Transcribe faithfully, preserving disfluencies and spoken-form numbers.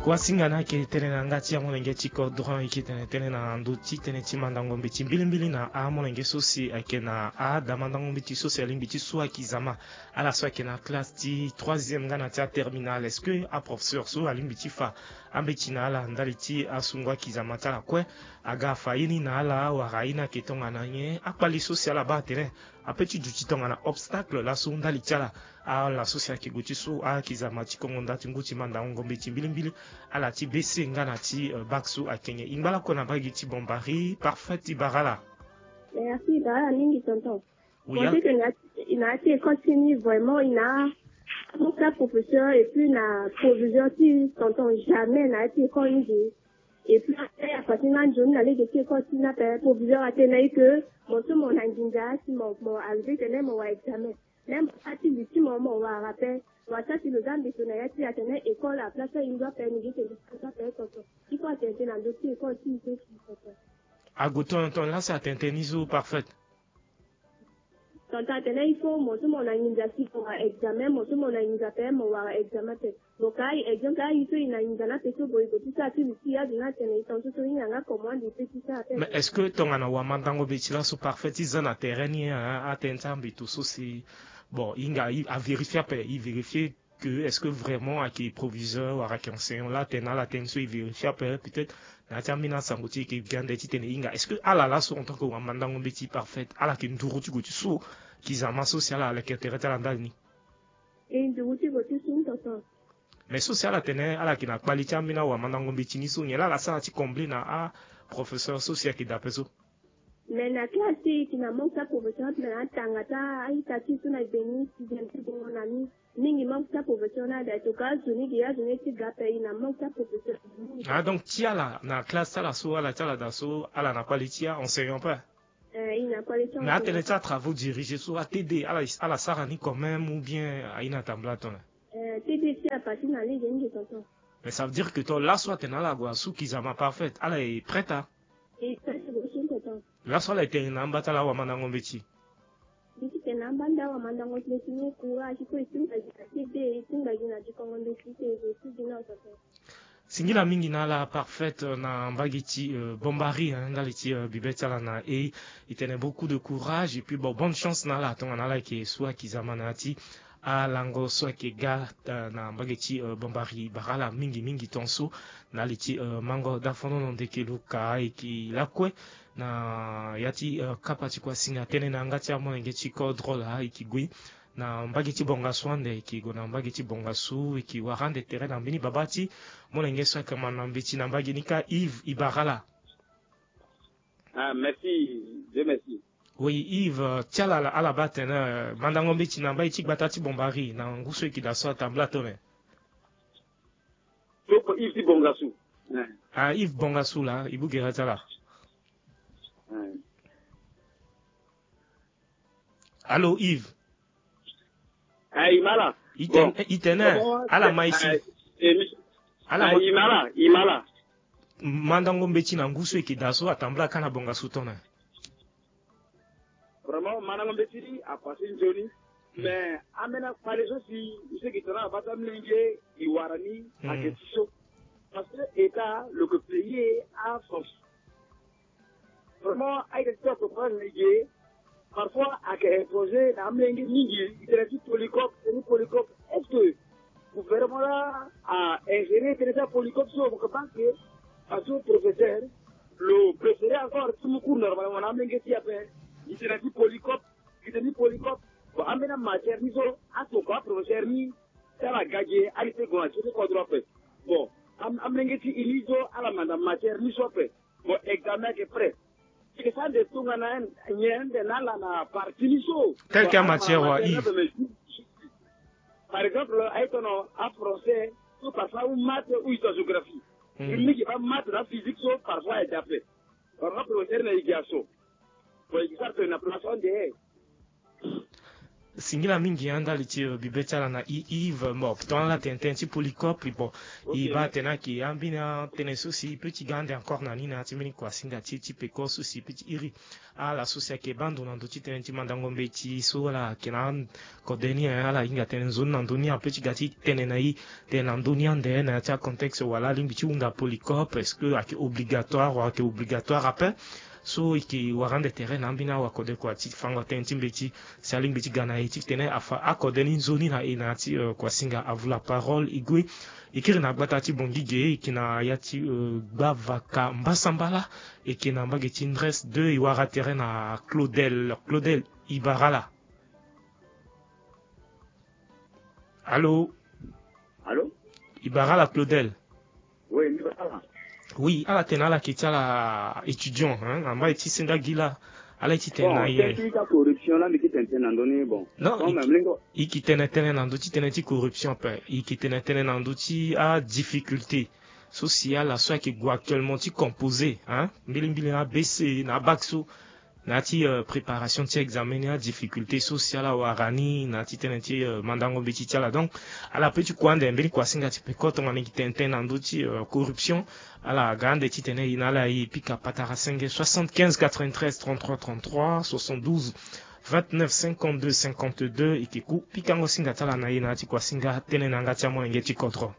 Wasinga na ayeke tënë na yanga ti amolenge ti Codron, e yeke tene tënë na ndö ti tënë ti mandango mbeti mbilimbili na amolenge so si ayeke na ada mandango mbeti so si alingbi ti su akizama. Ala so ayeke na classe ti troisième nga na ti aterminale, est-ce que aprofesseur so alingbi ti fa ambeti na ala ndali ti asungo akizama ti ala kue? Aga afa ye ni na ala wala aye ni ayeke tongana nyen? Akpali so si ala baa atene ape ti duti tongana obstacle laso ndali ti ala. Ala so si ayeke gue ti su akizama ti kongo nda ti ngu ti mandango mbeti mbilimbili, ala ti B C nga na ti, euh, bac so ayeke nyen? E ngba lakue na mbage ti Bombari, Parfait, e bara ala. Merci, e bara ala mingi, tonton. Oui, bon, a- c'est que na, na ya ti école ti ni, vraiment, e na mon professeur et puis na proviseur ti, tonton, jamais na ya ti école ni de. Et puis après, à partir na nzoni na lege ti école ti ni ape, proviseur atene na e que mo so mo na nginza si mo, mo arrivé tene mo wara examen. Même mo sara ti li ti mo, mo wara ape. Mo sara ti lo za mbi so na ya ti atene école à place e ngu ape, ni gi tene ape, tonton. Il faut atene tënë na ndö ti école ti e so, tonton. Ague tongana tongana laso atene tënë ni so, Parfait? Tonton, atene il faut mo so mo na nginza si mo wara examen, mo so mo na nginza ape mo wara examen ape. Bon, ka e, exemple, aye so e na nginza ni ape so, bon, e gue ti sara ti li ti e, azo ni atene e, tonton, so so e yanga comment e peut ti sara ape. Mais est-ce que tongana wamandango mbeti laso, Parfait, ti za na terrain ni, hein, atënë ti ambeto so si, bon, e hinga, e, avérifier ape, e vérifier que est-ce que vraiment ayeke proviseur wala ayeke enseignant? Laa atene na ala tënë so e vérifier ape, peut-être na ya ti ambeni asango ti e yeke gi ande titene e hinga. Est-ce que ala laso en tant que wamandango mbeti, Parfait, ala yeke nduru ti gue ti su kizama so si ala leke tere ti ala ndali ni? E nduru ti gue ti su, tonton. Mais so si ala tene ala yeke na kpali ti ambeni awamandango mbeti ni so, nyen laa ala sara ti combler na aprofesseur so si ayeke dape so? Mais na classe ti e, e yeke na manque ti aprofesseur, ape na atanga ti a-ita ti e so na e beni sixième ti bongo na ni. Mingi manque ti aprofesseur ni ada, en tout cas azo ni gi azo ni ti ga ape, e na manque ti aprofesseur mingi. Ah, donc ti ala na classe ti ala so, ala ti ala daa so, ala na kpali ti a-enseignant ape? Eh, e na kpali ti a-enseignant. Mais atënë ti atravaux dirigés so, a-T D, ala, ala sara ni quand même ou bien aye ni atambula tongana? Eh, T D si a parti na lege mingi, tonton. Mais ça veut dire que to laso atene ala gue asu kizama, Parfait, ala e prête a? E prête gue su, tonton. Laso ala e tene na amba ti ala awamandango mbeti? Mbi ti tene na amba ti ala awamandango mbeti ni, courage, il faut e tingba gi na T D, e tingba gi na dikongo mbeti, e gue su gi na, tonton. Singila mingi na ala, Parfait, euh, na mbage ti, euh, Bombari, hein, ndali ti, euh, bibe ti ala na e. E tene beaucoup de courage et puis, bon, bonne chance na ala tongana ala yeke su akizama na ya ti alango so ayeke ga, euh, na mbage ti, euh, Bombari. E bara ala mingi mingi ton so na li ti, euh, mango dafonono ndeke luka e yeke lakue na ya ti, euh, kapa ti kua singa tënë na yanga ti amolenge ti Codron laa e yeke gue na mbage ti Bongasu ande, e yeke gue na mbage ti Bongasu, e yeke wara ande tere na mbeni babâ ti molenge so ayeke manda mbeti na mbage ni kâ, Yves, e bara ala. Ah, merci. Dieu merci. Oui, Yves, euh, ti ala, ala baa atene, euh, mandango mbeti na mbage ti gbata ti Bombari na ngu so e yeke daa so atambula tone? Soko Yves ti Bongasu. Eh. Ah, Yves Bongasu laa, e bugere ti ala. Eh. Allô, Yves? Eh, e ma ala. Bon. E tene, bon, ala ma e si. Eh, eh, mi-, ala eh, ma e si. E ma ala, e ma ala. Mandango mbeti na ngu so e yeke daa so atambula kâ na Bongasu tone? Vraiment, mandango mbeti ni apassé nzoni. Hmm. Mais ambeni akpale so si e seke tene na bâ ti amolenge e wara ni, hmm, ayeke ti so. Parce que État lo yeke payer a force. Vraiment, a-ita ti so atokua na e ge, parfois ayeke imposer na amolenge mingi, e tene ti polycope, tene ti polycope. Est-ce que gouvernement laa a ingérer tënë ti apolycope so? Mo yeke baa ke, parce que professeur lo préférer encore ti mu cours normalement na amolenge ti e ape. E tene ti polycope, e tene ti polycope. Bon, ambeni amatière ni so atokua aprofesseur ni, ti ala ga ge, ala ti gue na ti kodro ape. Bon, am-, amolenge ti e ni so ala manda matière ni so ape. Bon, examen ayeke prêt. Ayeke sara nde tongana nyen nde na ala na partie ni so. Tel quelle matière, wa Yves? Par exemple, aye tongana a-français, ou parfois ou maths ou histoire-géographie. Hmm. Mingi baa maths na physique so parfois ayeke dape. Parfois professeur na e gi aso. Bon, e gi sara tongana place ande. Singila mingi, hein, ndali ti, euh, bibe ti ala na i Yves Mop. Tongana ala tene tënë ti Polycope, bon, i baa tene ayeke ambeni atënë so si i peut ti ga ande encore na ni na ya ti mbeni kuasinga ti e ti peko so si i peut ti iri ala so si ayeke baa ndo na ndö ti tënë ti mandango mbeti so ala yeke na akode ni, hein, ala hinga tënë nzoni na ndö ni, a peut ti ga ti tene na i tene na ndö ni ande na ya ti acontexte wala alingbi ti hunda Polycope, est-ce que ayeke obligatoire wala ayeke obligatoire ape? So e yeke wara ande tere na ambeni awa kode kua ti fango tënë ti mbeti si alingbi ti ga na e ti tene afa akode ni nzoni na e na ya ti, euh, kuasinga. Avu la parole e gue e kiri na gbata ti Bongige, e yeke na ya ti, euh, Gbavaka Mbasambala, e yeke na mbage ti Ndres deux, e wara tere na Claudel. Claudel, e bara ala. Allô? Allô? E bara ala Claudel? Oui, mbi bara ala. Oui, ala tene ala yeke ti ala étudiant, hein, na mbai ti senda gi laa. Ala ye ti tene na ye. Bon, tënë ti corruption laa mbi yeke tene tënë na ndö ni, bon. Non, comme i, mlingo, i yeke tene tënë na ndö ti tënë ti corruption ape. I yeke tene tënë na ndö ti adifficulté so si ala so ayeke gue actuellement ti composer, hein, mbilimbili na A B C na abac so na ya ti, euh, préparation ti examen ni, adifficulté so si ala wara ni na ya ti tënë ti, euh, mandango mbeti ti ala. Donc ala peut ti kue ande mbeni kuasinga ti peko tongana e yeke tene tënë na ndö ti, euh, corruption. Ala ga ande ti tene e na ala e pika patara senge, soixante-quinze quatre-vingt-treize trente-trois trente-trois, soixante-douze vingt-neuf cinquante-deux cinquante-deux. E yeke ku pikango singa ti ala na e na ya ti kuasinga tënë na yanga ti amolenge ti kodro.